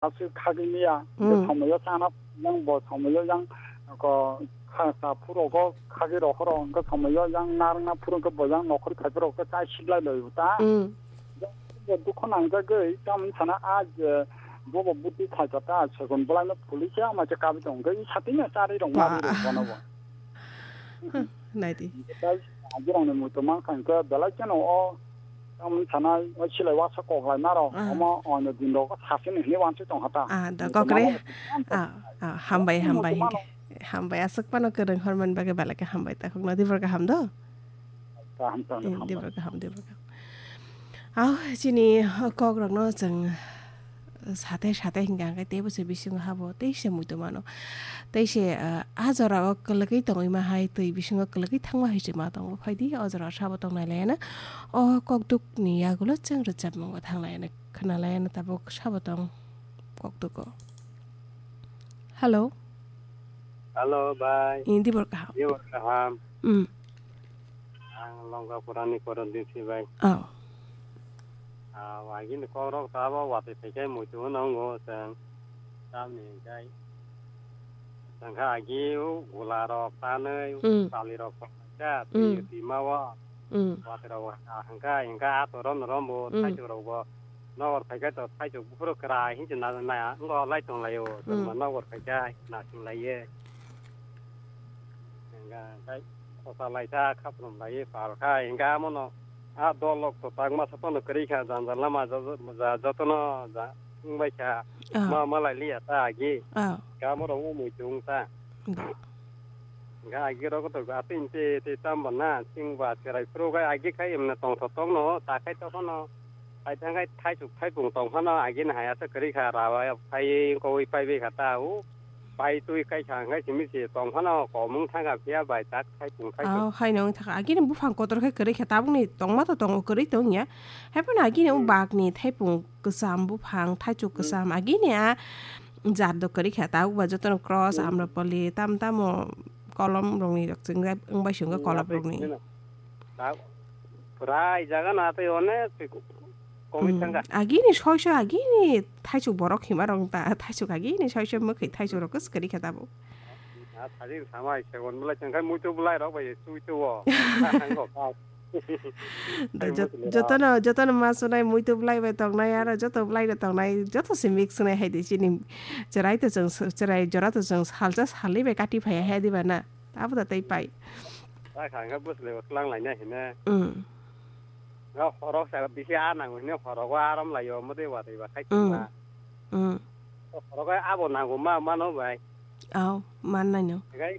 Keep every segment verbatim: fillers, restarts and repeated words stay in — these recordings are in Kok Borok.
Aswk khagwi miya, hwnkhe Hmm. somoyo chana yang bo somoyo yang ko kha-, sa phuru ko khagwi rohoro, hwnkhe somoyo yang narwkna phuru hwnkhe bo yang nokhorwi phaiphuru khe chai siklai lai ta. Hmm. Bo dukho nangjagwi tamni sana a je bobo buti khaika ta, segon bwlaino police ama je kabwi tong hwnkhe i satino charwi rok Ba. Marwi rok bono bo. Naidi. Hwnkhe tai agirokni muitu mankha hwnkhe belai kheno o Tamoni sanai, o silai uasa kok lai maro, Ah. omo, o, no din rogo sasini hini wansi tong hata. Ah, da, Ni kokre. Mano, Ah, ah, hambai, Ni hambai, mano. Hingke. Hambai, aswk pano kwrwng hormani bagwi belai khe hambai, takhuk no dibor kaham do? Kaham, kaham, Eh, hambai. Dibor kaham, dibor kaham. Au, chini, o, kok rokno chwng, sate, sate hingka hingke teibo se bisingo habo, tei se muitu mano. Tei se, ah, a jora o kwlwgwi tongwi ma hai, twi bisingo kwlwgwi thangma hai se ma tongo, phaidi, o jora o sabo tongnai laiano. O kokduk ni yagulo chwng rwchapmung bo thanglai ani khwnalai ani tabuk sabo tong kokduk o. Hello. Hello, bai. Indi bor kaham. Indi bor kaham. Mm. Ang Longkapura ni Koron Dipsi bai. Oh. Ah, wagi ni kok rok tabo watwi phaikai muitu no wngo chwng. Tamni hingkai. Tangkha agi o gula rok tanwi, Mm. Sali rok pokja, Mm. twi, twi ma o. Mm. Watwi rok ha hingka, hingka ato rom rom bo, Mm. thaichuk rok bo. Nokor phaikhe to thaichuk buphuru kwrai hinse na, na, wngkha lai tong lai o. Mm. Chwngma nokor phaikhe nasing lai ye. Hingka, hingka khosa lai ta, khaprum lai ye, pal kha, hingka amo no. A dol rok to tangma sa phano kwrwi kha, jang jang lama ja, ja, ja, jotono ja, wngbai kha. Ah. Ma, ma lai liya ta agi. Ah. Kamo rok wng mui chung ta. Da. Ga agi rok to ga tin te, te tam ba na, sing ba cherai pro ga agi khai emna tong tho tong no, ta khai to no. Ai thang khai thai chuk thai pung tong phano agi na haya ta kwrwi kha ra ba phai ko wi pai be kha ta u. Pai twi kai kha ngai simi se tong phano komung thang ga phiya bai tak thai pung thai chuk. Au, hai nong thak agi ni buphang kotor khai kwrwi kha tabuk ni tong ma to tong kwrwi tong ya. Hai phano agi ni Hmm. bak ni thai pung kwcham buphang, thaichuk Hmm. kwcham, agini a jat do kwrwi kha, tabuk ba jotono cross, Hmm. amrapali, tam tamo kolom rokni rok chwngjak wngbai swngo Hmm, kolom atwi rokni. Sino. Ta-, pura i jaga no atwi onek twi ko-, komwi Hmm. thangkha. Agini soi soi agini thaichuk borok hima rok ta, thaichuk agini soi soi mwkhwi thaichuk rok kwrwi kha tabuk. A thajin samai segon belai chwng khai muitu belai rok bai chui tuo. Hango kha. Da Ai jot-, muitu le jotono, jotono ma sunai muitu belai bai tongnai aro joto belai no tongnai joto se mix sunai hai di chini cherai to chwng s-, cherai jora to chwng salsa salni bai kati phai hai di ba na. Abo da tei pai. Ta kha khe bwsle klang lai na hine. Mm. Ga horok sa bisi a nang hine horogo aram lai yo mode wa dei ba khai Mm. ma. Mm. Horogo abo nango ma mano bai. Aw, man nai no. Gai,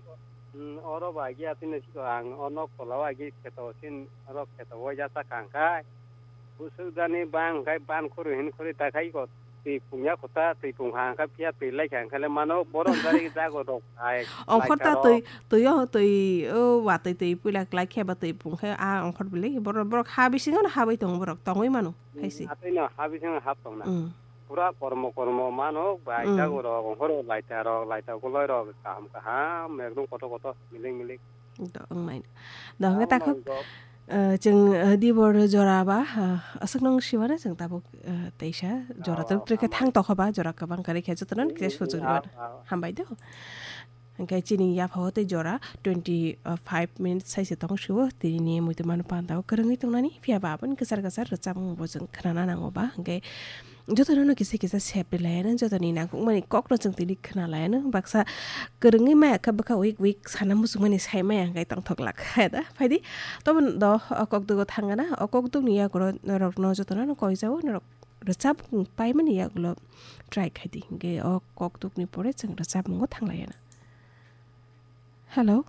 mm, oro ba agi atini siko ang o nok tola o agi kheto sin oro kheto o ya sa kang kai. Busuk dani bang kai ban khuru hin khuri ta khai ko twi pungya kota twi pung ha kai phiya twi lai kang kale mano borom dari jago rok ai. Ongkhor ta twi, twi o twi o wa twi twi puila klai khe ba twi pung khe a ongkhor bili borok, borok ha bisingo no ha bai tongo borok tongwi mano hai si. Atwi no ha bisingo hap tong na. Mm. Pura kormo kormo mano bai Mm. jago rok, horo laita rok, laita goloi rok, kaham kaham, ekdom kotor kotor, milik milik. Do, wngnai. Do, hwnkhe Ang takhuk, nang kok. Eh, chwng, eh, dibor jora ba, eh, aswk nang siwano chwng tabuk, eh, teisa jora Ah, tok trekhe hambai. Thang tokho ba, jora kwbang kwrwi khe jotono ni kisa Mm, sujuk ah, rwmano. Ah. Hambai do. Hwnkhe chini yaphao tei jora twenty five minutes sai se tong sio, tini ni muitu mano panda o kwrwngwi tongnani, phiya ba aboni kwchar kwchar rwchapmung bo chwng khnana nango ba, hwnkhe jotono no kisa kisa sep rilaiano, jotoni nangkukmani kokno chwng tini khna laiano, baksa kwrwngwi maya kha bwkha weak weak sana muchungmani sai maya hwnkhe tongthok lak kha da, phaidi tobo do o kokduk o thangana, o kokduk ni yago rokno jotono no koijao norok rwchap paimani yagulo try khaidi, hwnkhe o kokduk ni pore chwng rwchapmungo thanglaiana. Hello.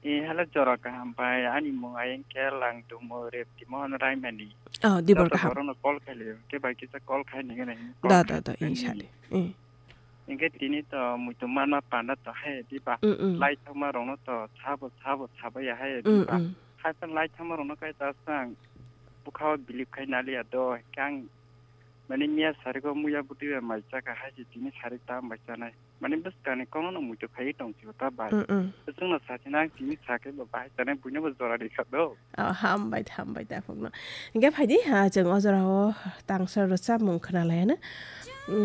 Eh, hello, jora kaham bai. Ani mung ayang kel ang tumo rep timo hon raimani. Oh, dibor kaham. Joto borokno call khailio. Ke bai kisa call khai nini nini. Da, da, da, insha Allah. Eh. Engke tini to muitu manma panda to hai diba. Mm, mm. Lai thangma rokno to sabo, sabo, sabo ya hai Mm, diba. Mm. Hai pa lai thangma rokno kai ta sang bukha o bilip khai naliya do. Kang mani miya sariko muya buti bai mai chaka hai si tini sarik tam bai chanai. Mani bwskangni kokno no muitu phaiwi tong sio ta bai. Mm, mm. Bwswkno sakhe nang tini sakhe bo bahai chanai buino bo jora rikha do. Oh, hambai, hambai takhukno. Hingke phaidi, ha, chwng o jorao tangsa rwchapmung khwnalaiano. Mm.